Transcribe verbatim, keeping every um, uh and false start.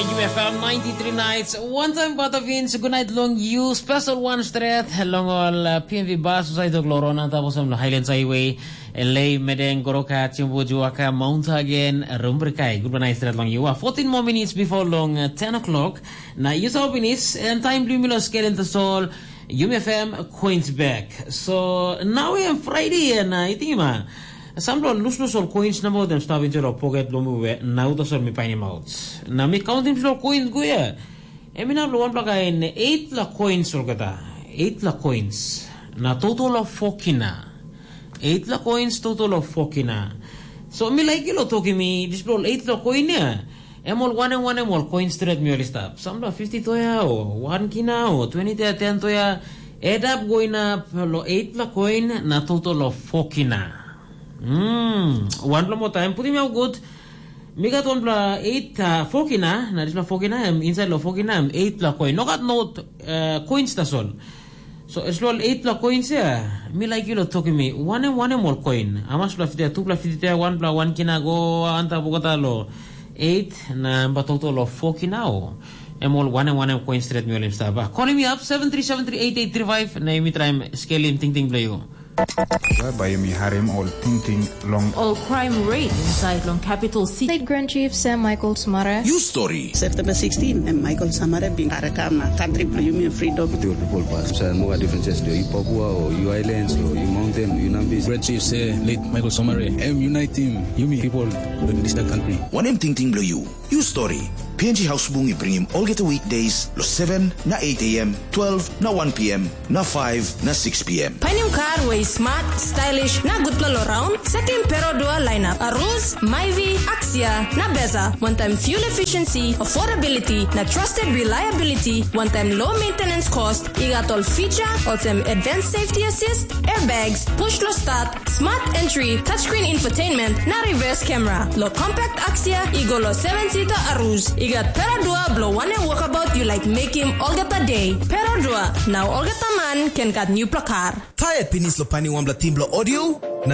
F M ninety-three nights, one time bata Vince, good night long you, special one stret, long all uh, P M V bus, usai tok lorona, tapos am lo Highlands Highway, L A, Medeng, Goroka, Chimbu, Juaka, Mount Hagen, Rumbrikai, good night stret long you. Uh, fourteen more minutes before long uh, ten o'clock. Na you saw finish, and time blue milo scale in the soul. Yumi F M coins back. So now we am Friday and uh, I think ma. Sampela luslus ol coins na motem stap inside of pocket lo mi we na uta sol mi painim out. Na mi countim slo coins go ya. Em inap lo wanpela kain eight la coins olgeta. Eight la coins. Na total of four kina. Eight la coins total of four kina. So mi like ilo toki mi dispela ol eight la coin ya. Em ol wanem wanem ol coin stret mi oli stap. Sampela fifty toya o one kina o twenty toya ten toya. Add up go inap lo eight la coin na total of four kina. Mm, wanpela moa taim, putim yau gut. Mi gat wanpela eight uh, four kina, na dispela four kina, em inside lo four kina, em eight la coin. No gat not uh, coins tasol. So, as well eight la coins ya, mi like you lo toki mi, wanem wanem ol coin. Amas la fiti, tu la fiti, one pla one kina go, anta bogota lo eight, na ba total lo four kina o. Em ol wanem wanem coin straight mi olim sta. Ba, calling me up, seven three seven three eight eight three five, na mi try scaling ting ting play you. Bai bai mi harim ol tingting long. All crime rate inside long capital city. State Grand Chief Sam Michael Smara. You story. September sixteen, em Michael Samara bin karakam na country bilong yumi freedom. With your people pass. So no differences do you Papua or you islands or you mountain, you Nambis. Grand Chief say late Michael Samara, em unite him, yumi people in this country. Wanem tingting bilong you? You story. P N G House Bung i bringim olgeta weekdays lo seven na eight a m, twelve na one p m, na five na six p m. Painim kar we i smart, stylish, na gutpela lo raun, sekim Perodua lineup, Aruz, Myvi, Axia, na Beza, one time fuel efficiency, affordability, na trusted reliability, one time low maintenance cost, i gat ol feature, olsem advanced safety assist, airbags, push lo start, smart entry, touchscreen infotainment, na reverse camera. Lo compact Axia, i go lo seven seater Aruz. I gat Perodua blo wanem walkabout you like make him olgeta day. Perodua, now olgeta man can gat new plakar. Tired pinis lo pani wanpela team blo audio? Na